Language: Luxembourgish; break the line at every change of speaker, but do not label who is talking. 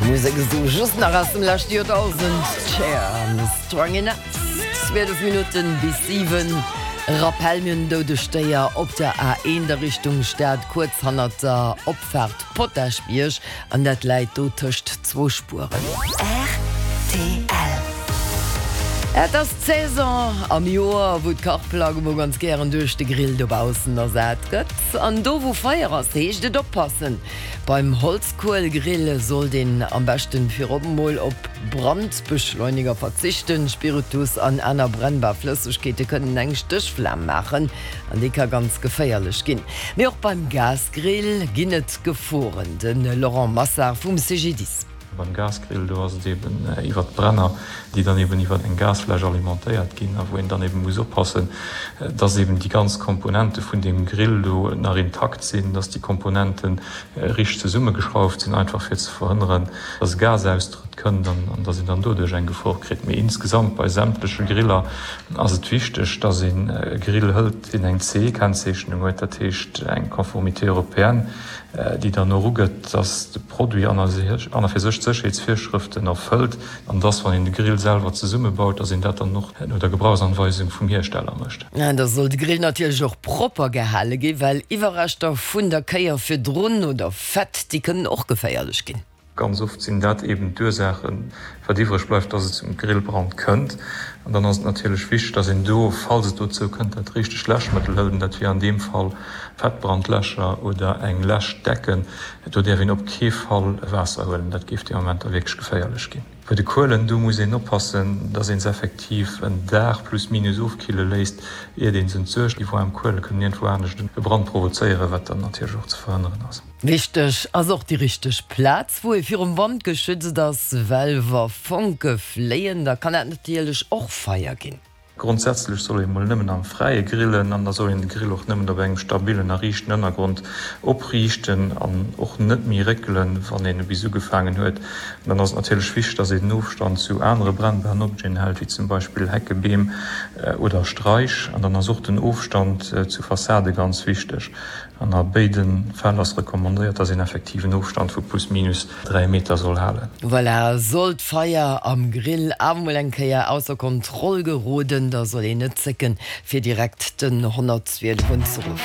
Musek esou just nach aus dem leschte Joerdausend, Cher an Strong Enough. 12 Minutten bis 7. Rappel, Mir hunn en doudegt Déier op der A1 a Richtung Stad, kuerz hannert der Opfaart Potaschbierg, an dat läit do tëscht zwou Spueren.
Rtl.
Et ass d'Saison am Joer, wou d'Kachplack emol ganz gären duerch de Grill dobaussen ersat gëtt. An do wou Feier ass, heescht et oppassen! Beim Holzkuelgrill sollt een am beschten virop emol op Brandbeschleuniger verzichten. Spiritus an aner brennbar Flëssegkeete kënnen eng Stéchflam maachen an déi ka ganz geféierlech ginn. Mee och beim Gasgrill ginn et Geforen. De Laurent Massard vum CGDIS.
Beim Gasgrill, do ass et eben iwwert d'Brenner, déi dann eben iwwert eng Gasfläsch alimentéiert ginn a wou een dann eben muss oppassen, dass eben déi ganz Komponente vun deem Grill do nach intakt sinn, dass déi Komponente richteg zesummegeschrauft sinn, einfach fir ze verhënneren, dass e Gasaustrëtt kënnt an dass een dann doduerch eng Gefor kritt. Mee insgesamt bei sämtleche Griller ass et wichteg, dass een e Grill hëlt, deen eng CE-Kennzeechnung huet, dat heescht eng Conformité européenne, déi dann och ugëtt, dass de Produit an a fir sech d'Sécherheetsvirschrëften erfëllt an dass, wann een de Grill selwer zesummebaut, dass een dat dann och no der Gebrauchsanweisung vum Hiersteller mécht.
Da soll de Grill natierlech och propper gehale ginn, well Iwwerreschter vun der Kéier virdrun oder Fett, déi kënnen och geféierlech ginn.
Ganz oft sinn dat eben d'Ursaachen, wat iwwreg bleift, dass et zum Grillbrand kënnt. An dann ass et natierlech wichteg, dass een do, falls et dozou kënnt, dat richtegt Läschmëttel hëlt. An dat wier an deem Fall Fettbrandläscher oder eng Läschdecken. Do däerf een op kee Fall Waasser huelen, dat géif dee Moment da wierklech geféierlech ginn. Bei de Kuelen, do muss een oppassen, dass een se effektiv en Dag plus minus ofkille léisst, iert een se entsuergt. Déi waarm Kuele kënnen iergendwou anescht e Brand provozéieren, wat dann natierlech och ze verhënneren ass.
Wichteg ass och déi richteg Plaz, wou ee virum Wand geschützt ass, well wa Fonke fléien, da kann dat natierlech och Feier ginn.
Grondsätzlech soll ee mol nëmmen am Fräie grillen an da soll een de Grill och nëmmen op engem stabillen a riichten Ënnergrond opriichten an och net méi réckelen, wann een e bis ugefaangen huet. An dann ass et natierlech wichteg, dass een den Ofstand zu anere brennbaren Objeten hält, wéi zum Beispill Hecke, Beem oder Straich. An dann ass och den Ofstand zu Fassade ganz wichteg. An a béide Fäll ass recommandéiert, dass een effektiv en Ofstand vu plus minus 3 Meter soll halen.
Voilà, sollt d'Feier am Grill awer mol eng Kéier ausser Kontroll geroden, da soll een net zécken, fir direkt den 112 unzeruffen.